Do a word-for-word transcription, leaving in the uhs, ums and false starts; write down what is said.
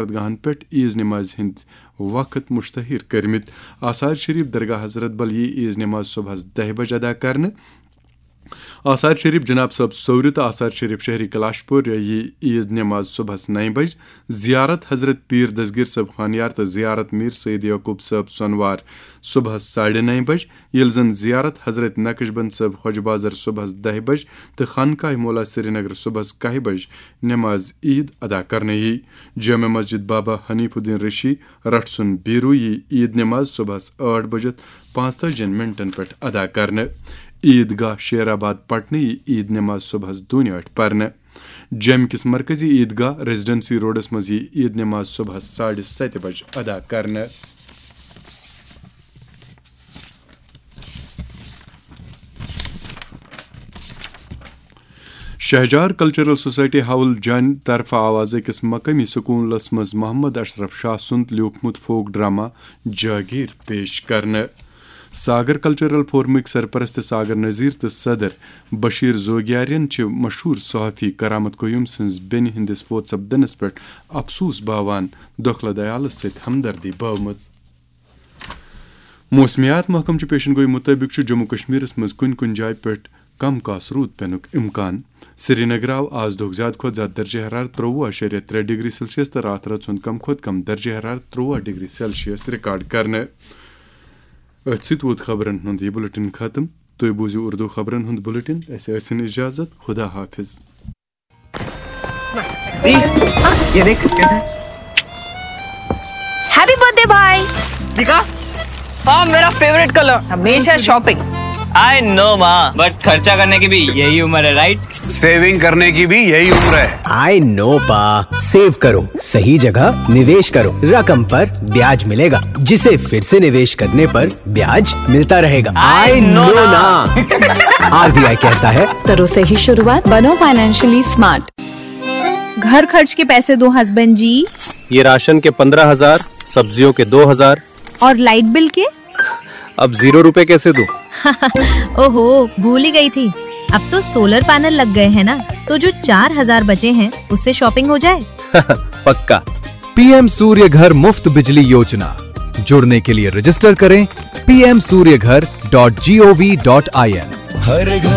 عبادت گاہن پٮ۪ٹھ عیز نمازِ ہٕنٛدۍ وقت مشتہر کٔرمٕتۍ۔ آثار شریف درگاہ حضرت بل یی عیز نماز صبحس دَہہِ بجہِ ادا کرنہٕ۔ آثار شریف جناب صٲب سورِ تہٕ آثار شریف شہری کلاشپور یی عیز نماز صبحس نَیہِ بجہِ۔ زیارت حضرت پیر دستگیر صٲب خانیار تہٕ زیارت میر سید یعقوب صٲب سۄنوار صبحس ساڑِ نَیہِ بجہِ، ییٚلہِ زن زیارت حضرت نقشبند صٲب خۄجہِ بازر صبحس دَہہِ بجہِ تہٕ خانقاہ مولا سرینگر صبحس کاہہِ بجہِ نماز عید ادا کرنہٕ یی۔ جامع مسجد بابا حنیف الدین رشی رٹھ سُنٛد بیرو یی عید نماز صبحس ٲٹھ بجہِ پانٛژتٲجی منٹن پٮ۪ٹھ ادا کرنہٕ۔ عید گاہ شیر آباد پٹنہٕ یی عید نماز صبحس دونہِ ٲٹھِ پرنہٕ۔ جیٚمہِ کِس مرکزی عید گاہ ریزیڈنسی روڈس منٛز یی عید نماز صبحس ساڑِ ستہِ بجہِ ادا کرنہٕ۔ شہجار کلچرل سوسائٹی ہاول جان طرفہٕ آو از أکِس مقٲمی سکوٗلس منٛز محمد اشرف شاہ سُنٛد لیوٗکھمُت فوک ڈرامہ جاگیر پیش کرنہٕ۔ ساگر کلچرل فورمٕکۍ سرپرست ساگر نذیر تہٕ صدر بشیر زوگیارین چھِ مشہوٗر صحافی کرامت قیوم سٕنٛز بیٚنہِ ہٕنٛدِس فوت سپدنس پٮ۪ٹھ افسوس باوان دۄکھلہٕ دیالس سۭتۍ ہمدردی بٲومٕژ۔ موسمیات محکمہٕ چہِ پیشن گوئی مُطٲبِق چھُ جموں کشمیرس منٛز کُنہِ کُنہِ جایہِ پٮ۪ٹھ کم کاس روٗد پینُک امکان۔ سرینگر آو آز دۄہُک زیادٕ کھۄتہٕ زیادٕ درجہ حرارت ترٛۆوُہ اَشاریہ ترٛےٚ ڈگری سیلسیس تہٕ راتھ رٲژ ہُنٛد کم کھۄتہٕ کم درجہ حرارت ترٛۆوُہ ڈگری سیلسیس ریکارڈ کرنہٕ۔ أتھۍ سۭتۍ ووت خبرن ہُنٛد یہِ بُلٹن ختم۔ تُہۍ بوٗزِو اردو خبرن ہُنٛد بُلٹن۔ اَسہِ ٲسِن اجازت۔ خدا حافظ۔ दी, ये देख कैसा है। हैप्पी बर्थडे भाई। दिखा। हाँ, मेरा फेवरेट कलर। हमेशा शॉपिंग। आई नो माँ, बट खर्चा करने की भी यही उम्र है, राइट? सेविंग करने की भी यही उम्र है। आई नो पा, सेव करो सही जगह, निवेश करो, रकम पर ब्याज मिलेगा, जिसे फिर से निवेश करने पर ब्याज मिलता रहेगा। आई नो ना। आरबीआई कहता है, करो सही शुरुआत, बनो फाइनेंशियली स्मार्ट। घर खर्च के पैसे दो हस्बैंड जी। ये राशन के पन्द्रह हजार, सब्जियों के दो हजार। और लाइट बिल के? अब जीरो रुपए कैसे दूं? ओहो, भूल ही गई थी। अब तो सोलर पैनल लग गए हैं ना, तो जो चार हजार बचे हैं, उससे शॉपिंग हो जाए। पक्का। पीएम सूर्य घर मुफ्त बिजली योजना। जुड़ने के लिए रजिस्टर करें P M Surya Ghar dot G O V dot I N. हर घर